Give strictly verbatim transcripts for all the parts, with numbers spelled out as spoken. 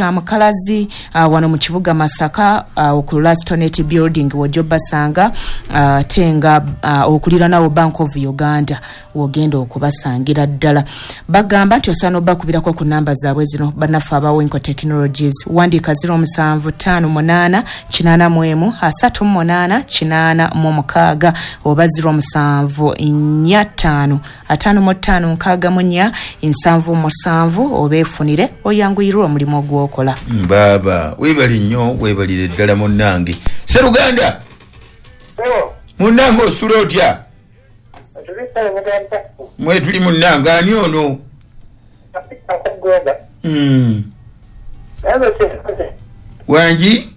Mukalazi uh, wano mu kibuga Masaka uh, ku Lastonet building wojjo basanga uh, tenga uh, okuliranawo Bank of Uganda wogenda okubasangira ddala. Bagamba nti osana obakubirako ku namba zaabwe zino bannaffe aba Winco Technologies, wandika zero musanvu ttaano munaana kinaana mu emu asatu mu munaana kinaana mu mukaaga oba zero musanvu nnya ttaano ataano mu ttaano nkaaga mu nnya nsanvu musanvu, obeefunire oyanguyirwe omulimu ogwo. Baba webali nnyo, webalire ddala munnange. Seruganda munnange, osula otya? Mwe tuli munnange, ani ono? Mm. Wangi?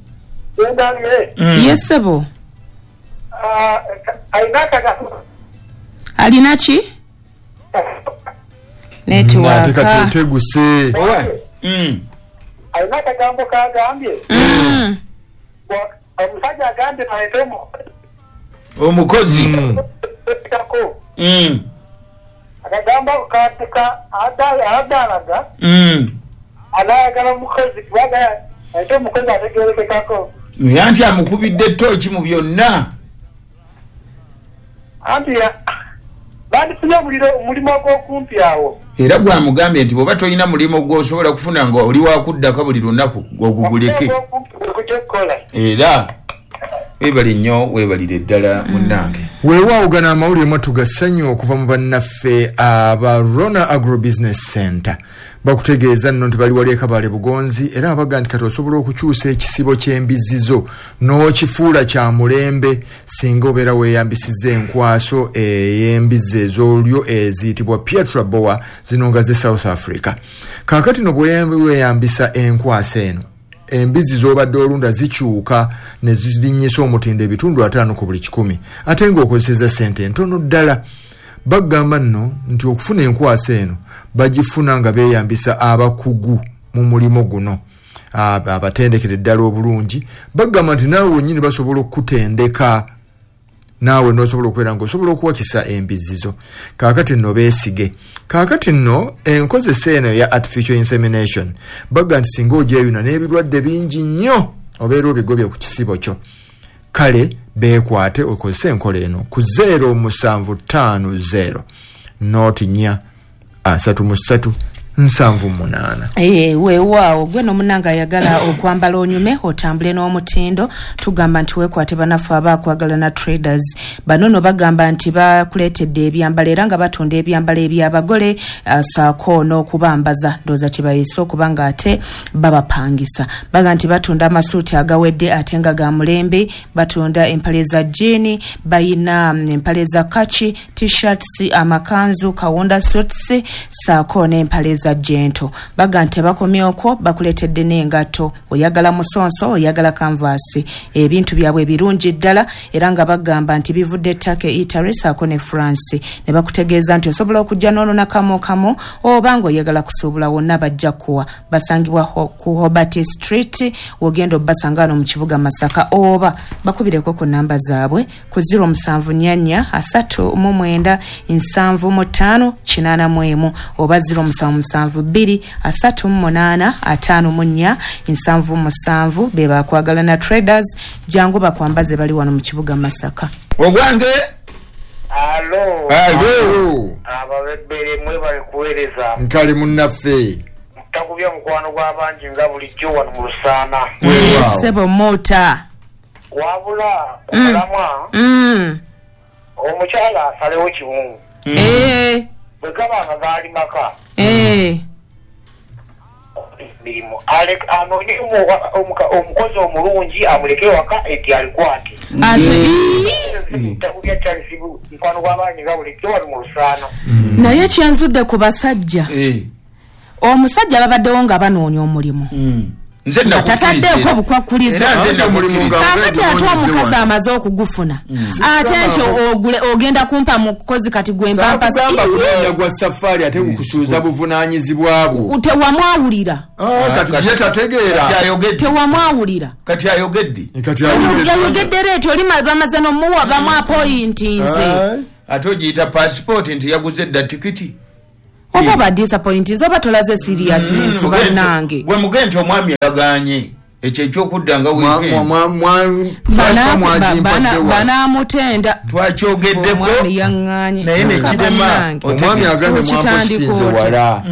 Mm. Yesebo alina ki? Network teguse. Mm. Alina akagambo kagambye Mm. omusajja agambye aleete omukozi kako Mm. akagambo katika adalaga Mm. anayagala omukozi kubanga aleete omukozi ategerekekako. Anti amukubidde ttooki mu byonna. Anti bandifunye omuliro omulimu ogw'okumpi awo. Era gwamugambye nti bw'oba tolina mulimu gw'osobola kufuna nga oli wakuddako buli lunaku gw'oguguleke. Era weebale nnyo, weebalire ddala munnange. Weewaawo gano amawulire mwattu ga ssanyu okuva mu bannaffe aba Rona Agrobusiness Center. Bakutegeeza nno nti bali wali e Kabale Bugonzi, era baga nti kati osobola okukyusa ekisibo ky'embizzi zo n'okifuula kya mulembe singa obeera weeyambisizza enkwaso ey'embizzi ez'olyo eziyitibwa Pietro Boa, zino nga ze South Africa. Kaakati no bwe weeyambisa enkwaso eno, embizzi z'obadde olunda zikyuka ne zirinnyisa omutindo ebitundu ataano ku buli kikumi, ate ng'okozesezza ssente ntono ddala. Bagamba nno nti okufuna enkwaso eno bagifuna nga beeyambisa abakugu mu mulimu guno abatendekere ddala obulungi. Bagamba nti naawe wennyini basobola okukutendeka, naawe n'osobola okubeera ng'osobola okuwakisa embizzi zo. Kaakati nno beesige. Kaakati nno enkozesa eno eya artificial insemination, baga nti singa ogyeyuna n'ebirwadde bingi nnyo obeera obigobye ku kisibo kyo. Kale beekwate okozese enkola eno ku zero musanvu ttaano zero noti nnya asatu mu ssatu nsanvu munaana. Eh, weewaawo gwe n'omunanga ayagala okwambala onyume otambule n'omutindo, tugamba nti weekwate bannaffe abakwagalana traders. Bano no bagamba nti bakuleetedde ebyambalo era nga batunda ebyambalo ebyabagole uh, saako n'okubambaza, ndowooza kye bayise okuba nga ate babapangisa. Baga nti batunda amasuuti agawedde ate nga ga mulembe, batunda empale za jean, bayina mm, empale za kaki, t-shirts, amakanzu, kawunda suits, saako n'empale za jento. Baga nti bakomye okwo, bakuleetedde n'engatto, oyagala musonso, oyagala kanvaasi, ebintu byabwe birungi ddala era nga bagamba nti bivudde Turkey, Italy saako ne France. Ne bakutegeeza nti osobola okujja n'onona kamu kamu oba ng'oyagala kusuubula, wonna bajja kuwa. Basangibwa ho, ku Hobart Street, wogenda obbasanga wano mu kibuga Masaka, oba bakubireko ku namba zaabwe ku zero musanvu nnya nnya asatu mu mwenda nsanvu mu ttaano kinaana mu emu oba zero musanvu musanvu bbiri asatu mu munaana ataano mu nnya nsanvu musanvu. Be bakwagalana traders, jangu bakwambaze, bali wano mu kibuga Masaka. Ogwange. Alo. Alo. Ababebbere, mwebale kuweereza. Nkale munnaffe. Takubya mukwano gw'abangi nga bulijjo wano mu Lusaana. Weewaawo. Sebo mota. Wabula omulamwa, mm. omukyala asalewo kimu. Eh, bwe gaba nga gaali maka eh. mirimu, ale- anoonye omu- omukozi omulungi amuleke waka eti alikwate. Ate Takubya Charles mukwano gw'abangi nga bulijjo wano mu Lusaana. Naye kyanzudde ku basajja, Eh. omusajja babaddewo nga banoonya omulimu Mm. Nze nga tataddeeko bukwakkulizo. Era nze Anti omulimu nga Kaakati ate ogunoonyeze omukazi wano. amaze okugufuna, ate nti ogule ogenda kumpa mukozi kati gwe mpampasa. Saakugamba kunoonya gwa safaari ate kukusuuza buvunaanyizibwa bwo. Tewamwawulira. Ah, kati ye tategeera. Kati ayogedde. Tewamwawulira. Kati ayogedde. Kati ayogedde. Yayogedde leeti oli ma- bamaze nomuwa bamu appointinze. Ai. Ate ogiyita pasipooti nti yaguze dda tikiti. Oba ba disappointed oba tolaze seriousness bannange. Gwe mugende omwami yaganye ekyo ekyokudda nga weekend. Banamutenda twakyogeddeko naye ne kirema omwami agambye mwampositinze wala.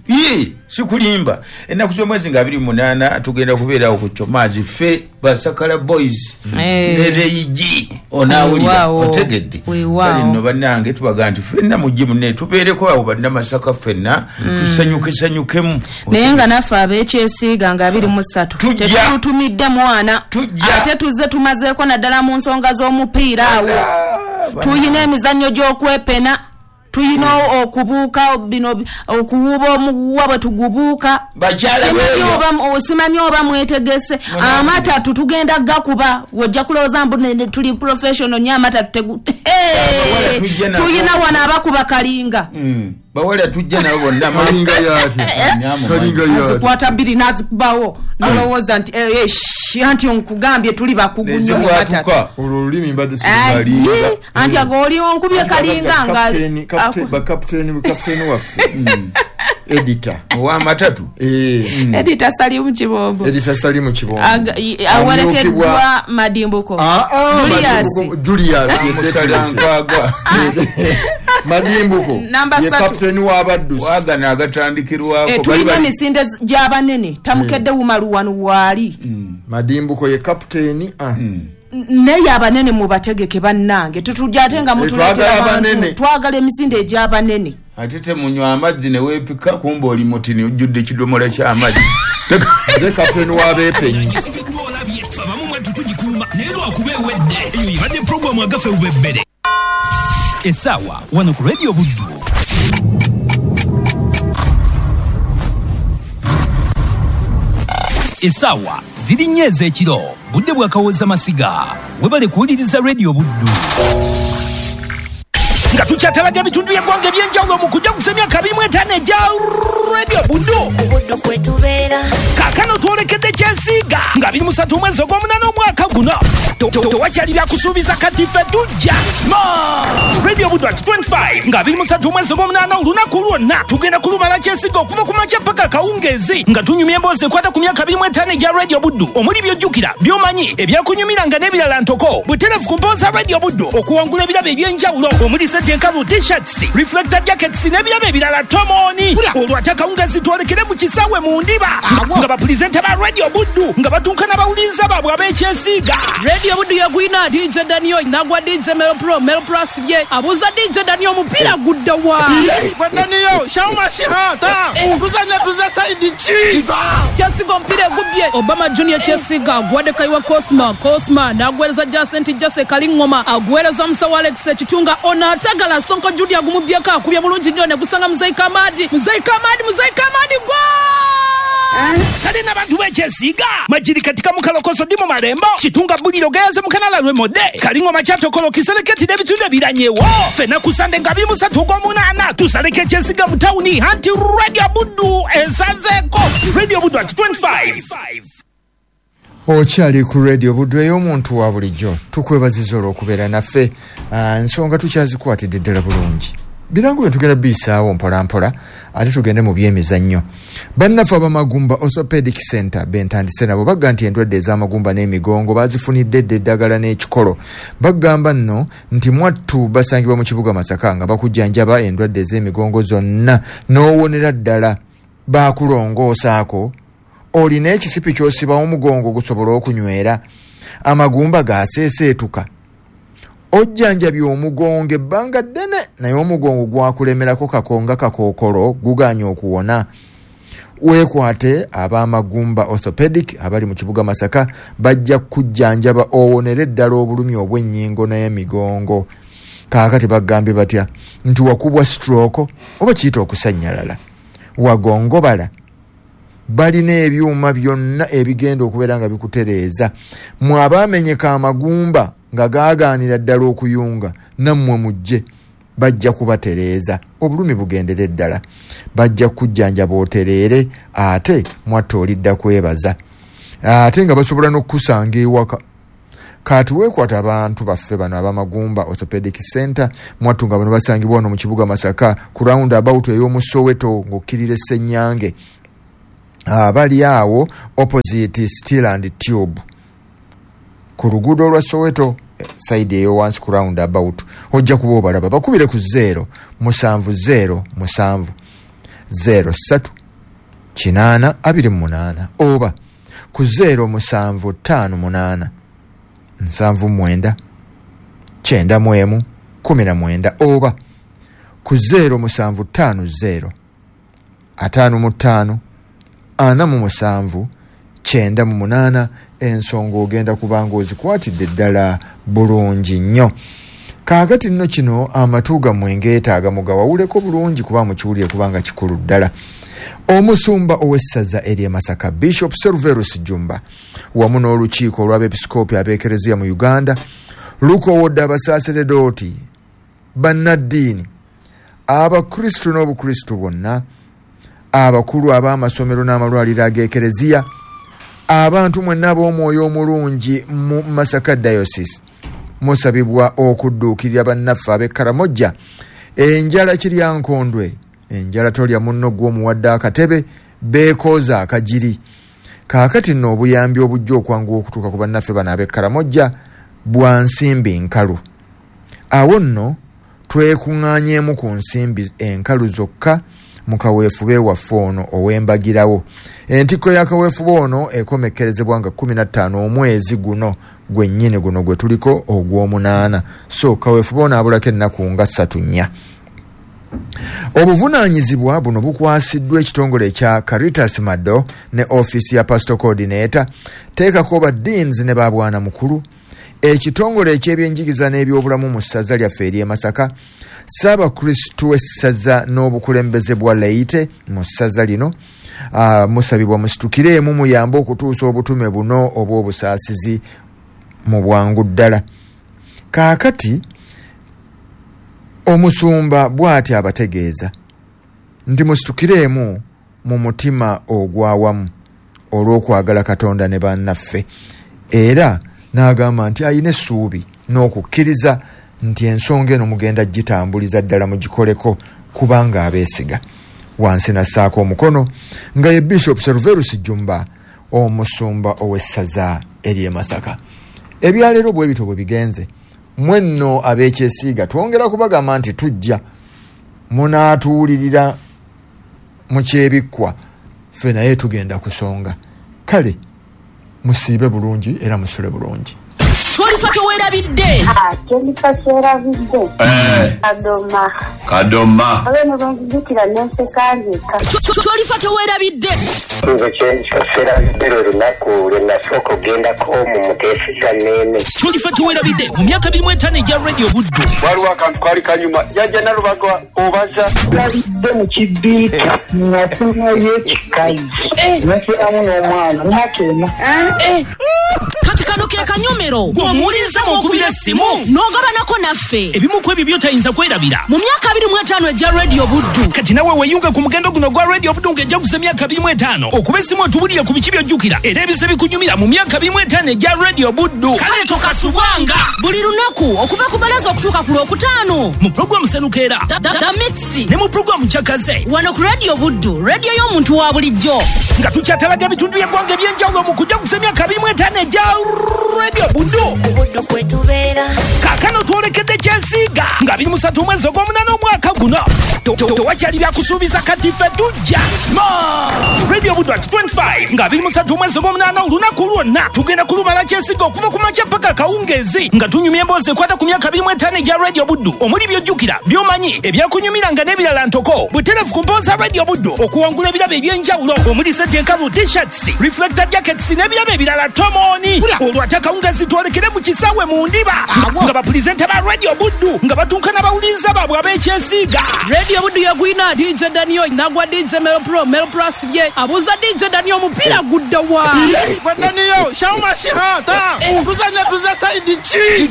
Ye sikulimba ennaku z'omwezi nga abiri munaana tugenda kubeerawo ku Chomaazi ffe Basakala Boys ne Reigi onaawulira otegedde. Kale nno bannange tubaga nti ffenna mujje munne tubeereko awo bannamasaka ffenna tusanyukesanyukemu. Naye nga naffe ab'ekyesiiga nga abiri mu ssatu tetutumidde mwana ate tuzze tumazeeko naddala mu nsonga z'omupiira awo. Tuyina emizannyo gy'okwepena, tuyina okubuuka bino okuwuba omuguwa bwe tugubuuka. Simanyi oba mwetegese amatatu tugenda gakuba wojja kulowooza mbu tuli professional nnyo amatatu tuyina wano abakuba kalinga. Bawala tujja nabo bonna kalinga yati kalinga yati azikwata bbiri n'azikubawo nolowooza nti anti nkugambye tuli bakugu nnyo mu matatu. Olwo olulimi mbadde sikalinga anti ago oli onkubye kalinga nga bakapiteeni kapiteeni waffe editor ow'amatatu eh Editor Salimu Kibombo Editor Salimu Kibombo awerekeddwa Madimbuko Julius Julius Musalankwagwa Madimbuko ye kapiteeni w'abaddusi wagana agatandikirwako tulina emisinde gy'abanene tamukedde wumaluwanu waali. Madimbuko ye kapiteeni naye abanene mubategeke bannange tutujja ate nga mutuleetera abantu twagala emisinde egy'abanene. Ate temunywa amazzi ne weepika kumba oli mutini ojjudde ekidomola ky'amazzi. Nze kapiteeni w'abeepenyi. Abamu mwattu tugikuuma naye lwakuba ewedde eyo ebadde puroguramu agaffe bubebbere essaawa wano ku Radio Buddu. Essaawa ziri nnya ez'ekiro budde bwakawooza masiga webale kuwuliriza Radio Buddu. Nga tukyatalaga ebitundu by'eggwanga eby'enjawulo mu kujaguza emyaka abiri mu etaano egya Radio Buddu. Kaakano twolekedde kyesiiga nga abiri mu ssatu omwezi ogw'omunaana omwaka guno. Tewakyali byakusuubiza kati ffe tujja. Radio Buddu at twenty-five nga abiri mu ssatu omwezi ogw'omunaana olunaku lwonna tugenda kulumala kyesiiga okuva ku makya paka akawungeezi nga tunyumya emboozi ekwata ku myaka abiri mu etaano egya Radio Buddu omuli by'ojjukira by'omanyi ebyakunyumiranga n'ebirala ntoko butereevu ku mpooza Radio Buddu okuwangula ebirabo eby'enjawulo omuli enkalu t-shirts reflector jackets n'ebirabo ebirala tomoni. Olwo ate akawungeezi twolekere mu kisaawe mu ndiba nga bapulizenta ba Radio Buddu nga batuuka n'abawuliriza baabwe ab'ekyesiiga. Radio Buddu yagwina D J Daniel nagwa D J Melo Pro Melo Pro asibye abuuza D J Daniel omupiira gudda wa Daniel shauma shihata tuzanya tuza saidi chi Kyesiga omupiira egubbye Obama Junior Kyesiga agwadde Kaiwa Cosma Cosma n'agwereza Jacent Jase Kalingoma agwereza Musawo Alex Ekitunga ono atagala Sonko Julia agumubyeko akubye bulungi nnyo ne gusanga Muzeyi Kamadi Muzeyi Kamadi Muzeyi Kamadi gwa kale n'abantu b'ekyesiiga majiri katika mukalokoso ndi mu malembo kitunga buliro gayaze mukanala lwemodde kalingoma kyatokolo kiseleketi n'ebitundu ebiranyewo ffenna ku Sande nga abiri mu ssatu ogw'omunaana tusaleko ekyesiiga mu tawuni anti Radio Buddu esazeeko Radio Buddu at twenty-five. Okyali ku Radio Buddu ey'omuntu wa bulijjo tukwebaziza olw'okubeera naffe. Ensonga tukyazikwatidde ddala bulungi birango bye tugenda biyisaawo mpola mpola ate tugende mu byemizannyo. Bannaffe ab'amagumba Orthopedic Center bentandise nabo bagga nti endwadde ez'amagumba n'emigongo bazifunidde dda eddagala n'ekikolo. Bagamba nno nti mwattu basangibwa mu kibuga Masaka nga bakujjanjaba endwadde ez'emigongo zonna n'owonera ddala. Bakulongoosaako olina ekisipi ky'osiba omugongo gusobola okunywera, amagumba gaseeseetuka, ojjanjabye omugongo ebbanga ddene naye omugongo gwakulemerako kakonga kakookolo guganye okuwona. Weekwate ab'amagumba Orthopedic abali mu kibuga Masaka bajja kujjanjaba owonere ddala obulumi obw'ennyingo n'emigongo. Kaakati bagambye batya nti wakubwa stroke oba kiyita okusannyalala, wagongobala, balina ebyuma byonna ebigenda okubeera nga bikutereeza. Mwe abaamenyeka amagumba nga gaagaanira ddala okuyunga nammwe mujje bajja kubatereeza obulumi bugendere ddala, bajja kujjanjaba otereere ate mwatta olidda kwebaza, ate nga basobola n'okukusanga ewaka. Kati weekwata abantu baffe bano ab'Amagumba Orthopedic Center mwattu nga bano basangibwa wano mu kibuga Masaka ku round about ey'omu Soweto ng'okkirira Ssenyange, abali awo opposite Steel and Tube ku luguudo lwa Soweto side eyo wansi ku round about, ojja kuba obalaba. Bakubire ku zero musanvu zero musanvu zero ssatu kinaana abiri mu munaana oba ku zero musanvu ttaano munaana nsanvu mwenda kyenda mu emu kumi na mwenda oba ku zero musanvu ttaano zero ataano mu ttaano ana mu musanvu kyenda mu munaana. Ensonga ogenda kubanga ozikwatidde ddala bulungi nnyo. Kaakati nno kino amatu gammwe ngeetaaga mugawawuleko bulungi kuba mukiwulire kubanga kikulu ddala. Omusumba ow'essaza ery'e Masaka Bishop Serverus Jumba wamu n'olukiiko olw'abeepisikoopi ab'ekereziya mu Uganda lukoowodde abasaaseredooti, bannaddiini, abakristu n'obukristu bwonna, abakulu ab'amasomero n'amalwaliro ag'ekereziya, abantu mwenna ab'omwoyo omulungi mu Masaka Diocese musabibwa okudduukirira bannaffe ab'e Karamojja. Enjala kiryankondwe, enjala tolya munno gw'omuwadde akatebe, beekooza akagiri. Kaakati nno obuyambi obujja okwanguwa okutuuka ku bannaffe bano ab'e Karamojja bwa nsimbi nkalu. Awo nno twekuŋŋaanyeemu ku nsimbi enkalu zokka mu kaweefube waffe ono ow'embagirawo. Entikko ya kaweefube ono ekomekkerezebwa nga kkumi na ttaano omwezi guno gwennyini guno gwe tuliko ogw'omunaana. So kaweefube ono abulako ennaku nga ssatu nnya. Obuvunaanyizibwa buno bukwasiddwa ekitongole ekya Caritas Mado ne ofiisi ya Pastor Coordinator, teekako ba deans ne babwana mukulu, ekitongole eky'ebyenjigiriza n'ebyobulamu mu ssaza lyaffe ery'e Masaka, Ssaabakristu w'essaza n'obukulembeze bwa Leite mu ssaza lino. Uh, musabibwa musitukiremu muyambe okutuusa obutume buno obw'obusaasizi mu bwangu ddala. Kaakati omusumba bw'ati abategeeza nti musitukiremu mu mutima ogw'awamu olw'okwagala Katonda ne bannaffe, era n'agamba nti ayina essuubi n'okukkiriza nti ensonga eno mugenda gitambuliza ddala mugikoleko kubanga abeesiga. Wansi nassaako omukono nga ye Bishop Serverus Jumba omusumba ow'essaza ery'e Masaka. Ebyaleero bwe bityo bwe bigenze. Mwenno ab'ekyesiiga twongera kubagamba nti tujja munaatuwulirira mu kyebikkwa, ffe naye tugenda kusonga. Kale musiibe bulungi era musule bulungi. Twalifa tewerabidde. Ah, twalifa tewerabidde. Eh. Kadoma. Kadoma. Abeno banzijukira nenseka nzeka. Twalifa tewerabidde. Nze kyensoserabidde lwe lunaku lwe nasooka okugendako mu muteesiza nneene. Twalifa tewerabidde mu myaka abiri mu etaano egya Radio Buddu. Waliwo akantu kaali kanyuma. Jjajja Nalubaga obaza. Yalidde mu kibiika ng'atumayo ekikazi. Nasiramu n'omwana n'akeema. Kati kano ke kanyomero gw'omuwuliriza mw'okubira essimu n'ogabanako naffe ebimu ku ebyo by'otayinza kwerabira mu myaka abiri mu etaano egya Radio Buddu. Kati nawe weeyunge ku mugendo guno gwa Radio Buddu ng'ejaguza emyaka abiri mu etaano okuba essimu otubulire ku biki by'ojjukira era ebise bikunyumira mu myaka abiri mu etaano egya Radio Buddu. Kale tokasubwanga buli lunaku okuva ku balaza okutuuka ku Lwokutaano mu pulogulaamu Senukeera The Mix ne mu pulogulaamu Kyakaze wano ku Radio Buddu, radio y'omuntu wa bulijjo, nga tukyatalaga ebitundu by'eggwanga eby'enjawulo mu kujaguza emyaka abiri mu etaano egya Radio Buddu. Kaakano twolekedde kyesiiga nga abiri mu ssatu omwezi ogw'omunaana omwaka guno. Tewakyali byakusuubiza kati ffe tujja. Radio Buddu at twenty-five nga abiri mu ssatu omwezi ogw'omunaana olunaku lwonna tugenda kulumala kyesiiga okuva ku makya paka akawungeezi nga tunyumya emboozi ekwata ku myaka abiri mu etaano egya Radio Buddu omuli by'ojjukira, by'omanyi, ebyakunyumiranga n'ebirala ntoko. Butereevu ku mboozi za Radio Buddu okuwangula ebirabo eby'enjawulo omuli seti enkalu, t-shirts, reflector jackets n'ebirabo ebirala tomooni. Olwo ate akawungeezi twolekere mu kisaawe mu ndiba nga bapulizenta ba Radio Buddu nga batuuka n'abawuliriza baabwe ab'ekyesiiga. Radio Buddu yagwina D J Daniel nagwa D J Melo Pro Melo Pro asibye abuuza D J Daniel omupiira gudda wa. Gwe Daniel Shauma Shihata tuzanya tuza side ki.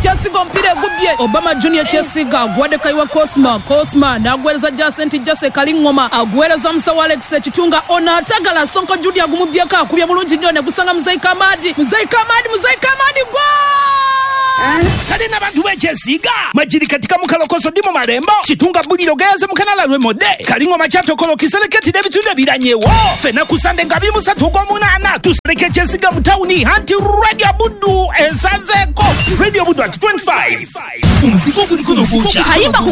Kyesiga omupiira egubbye Obama Junior Kyesiga aguwadde Kayiwa Cosma Cosma n'aguweereza Jacent Jase Kalingoma aguweereza Musawo Alex Ekitunga ono atagala Sonko Judy agumubbyeko akubye bulungi nnyo ne gusanga Muzeyi Kamadi Muzeyi Kamadi Muzeyi Kamadi gwa. Kale n'abantu b'ekyesiiga Majiri katika mukalokoso dimo malembo Kitunga buliro gayaze mukanala lwemodde Kalingoma kyatokolo kiseleketi n'ebitundu ebiranyewo. Fena ku Sande nga abiri mu ssatu ogw'omunaana tusereke ekyesiiga mu tawuni anti Radio Buddu esazeeko. Radio Buddu at twenty-five. Omuzigo guliko nofuuca. Kayimba ku